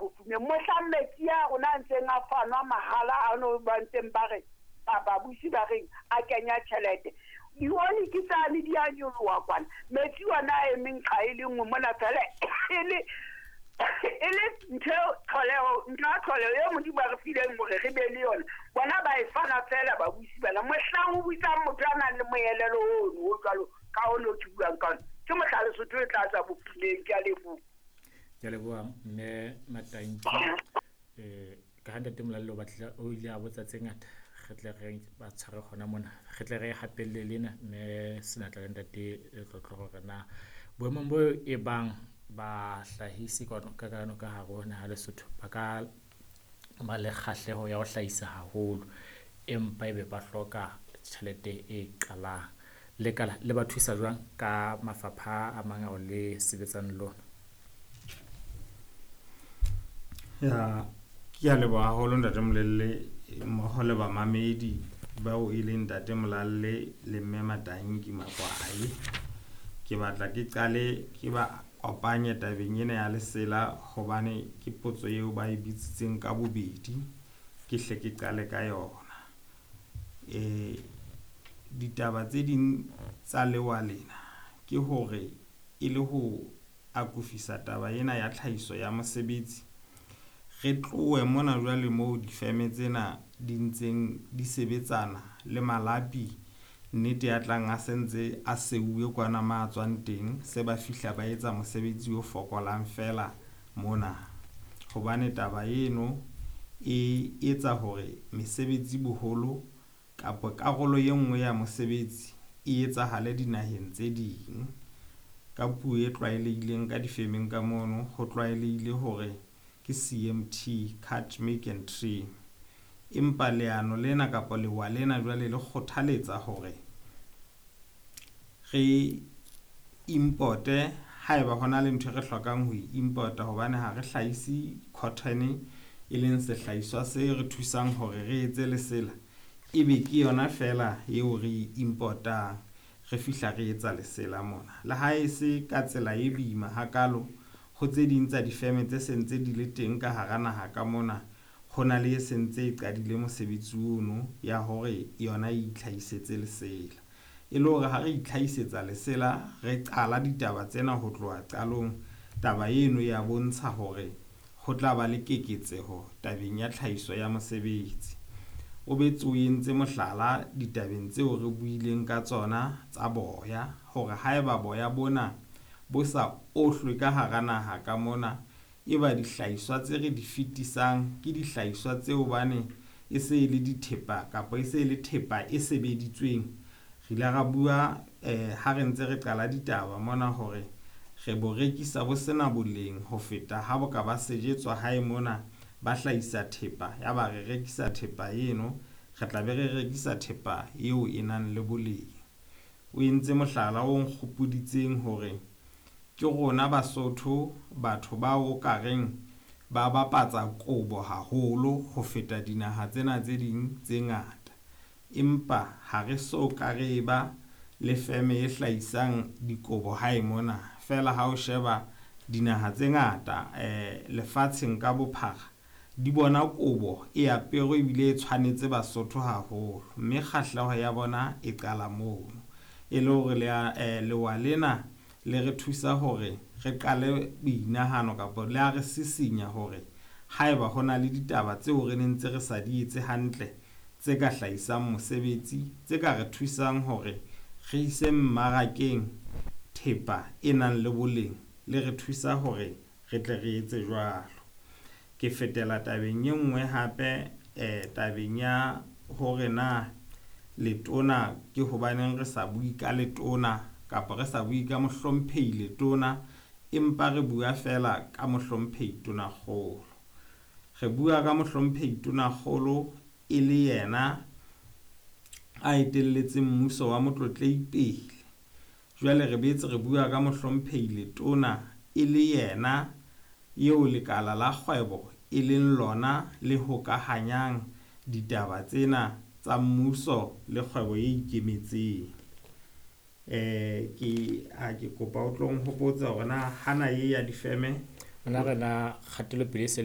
bofumeng. Mohlang metsi a rona a ntseng a fanwa mahala a no ba ntseng ba re babusi ba reng a kenya tjhelete. Dioli ke tsane di a nyoloha kwana. Metsi ona a emeng qha e le nngwe mona fela e le ntho tlholeho, ntho ya tlholeho eo Modimo a re fileng hore re be le yona. Bona ba e fana fela babusi bana. Mohlang o buisang motho a nang le moelelo ono o jwalo ka ono ke buang ka ona, ke mohla Lesotho e tla tswa bofumeng. Ke a leboha. Ke a leboha mme Matanki. Ka ha ntate Molalle o batla o ile a botsa tse ngata, re tle re ba tshware hona mona, re tle re hapelle lena mme Senatla le ntate Letlotlo hore na boemong bo e bang bahlahisi ka ka hare ho naha Lesotho ba ka ba le kgahleho ya ho hlahisa haholo, empa ebe ba hloka tjhelete e qalang. Lekala le ba thusa jwang ka mafapha a mang ao le sebetsang le lona? Ya, ke a leboha haholo ntate Molelle mmoho le bamamedi bao e leng ntate Molalle le mme Matanki Makwai. Ke batla ke qale ke ba kopanye tabeng ena ya lesela hobane ke potso eo ba e bitsitseng ka bobedi, ke hle ke qale ka yona. Ditaba tse ding tsa lewa lena ke hore e le ho akofisa taba ena ya tlhahiso ya mosebetsi, re tlohe mona jwale moo difeme tsena di ntseng di sebetsana le malapi, nnete ya tlang a sentse a seuwe kwana ma tswang teng, se ba fihla ba etsa mosebetsi o fokolang fela mona. Hobane taba eno e etsa hore mesebetsi boholo kapa karolo e nngwe ya mosebetsi e etsahale dinaheng tse ding. Ka puo e tlwaelehileng ka difemeng ka mono, ho tlwaelehile hore ke CMT, cut, make and trim. Empa leano lena kapa lewa lena jwale le kgothaletsa hore re importe haeba hona le ntho e re hlokang ho e importa, hobane ha re hlahise cotton e leng sehlahiswa se re thusang hore re etse lesela, ebe ke yona fela eo re e importang, re fihla re etsa lesela mona. Le ha e se ka tsela e boima hakalo, ho tse ding tsa difeme tse sentse di le teng ka hara naha ka mona, ho na le e sentse e qadile mosebetsi ono ya hore yona e itlhahisetse lesela. E le hore ha re itlhahisetsa lesela, re qala ditaba tsena ho tloha qalong, taba eno ya bontsha hore ho tla ba le keketseho tabeng ya tlhahiso ya mosebetsi. O betse o entse mohlala ditabeng tseo re buileng ka tsona tsa boya, hore haeba boya bona bo sa ohlwe ka hara naha ka mona, e ba dihlahiswa tse re di fetisang ke dihlahiswa tseo bane e se e le dithepa kapa e se e le thepa e sebeditsweng. Re ile ra bua ha re ntse re qala ditaba mona hore re bo rekisa bo sena boleng ho feta ha bo ka ba sejetswa hae mona, ba hlahisa thepa, ya ba re rekisa thepa eno, re tla be re rekisa thepa eo e nang le boleng. O entse mohlala o nkgopoditseng hore ke rona Basotho batho bao o ka reng ba bapatsa kobo haholo ho feta dinaha tsena tse ding tse ngata, empa ha re so ka re ba le feme e hlahisang dikobo hae mona. Fela ha o sheba dinaha tse ngata lefatsheng ka bophara, di bona kobo e aperwe ebile e tshwanetse Basotho haholo, mme kgahleho ya bona e qala mono. E le hore lewa lena le re thusa hore re qale boinahano kapa le a re sisinya hore haeba hona le ditaba tseo re neng ntse re sa di etse hantle tse ka hlahisang mosebetsi, tse ka re thusang hore re ise mmarakeng thepa e nang le boleng, le re thusa hore re tle re etse jwalo. Ke fetela tabeng e nngwe hape, tabeng ya hore na letona ke hobaneng re sa bue ka letona kapa re sa bue ka mohlomphehi letona, empa re bua fela ka mohlomphehi tonakgolo. Re bua ka mohlomphehi tonakgolo e le yena a etelletseng mmuso wa Motlotlehi pele. Jwale re boetse re bua ka mohlomphehi letona e le yena eo lekala la kgwebo e leng lona le hokahanyang ditaba tsena tsa mmuso le kgwebo e ikemetseng. Ke kopa o tlo nhopotsa hore na hana e ya difeme Nna re na kgatelopele e se le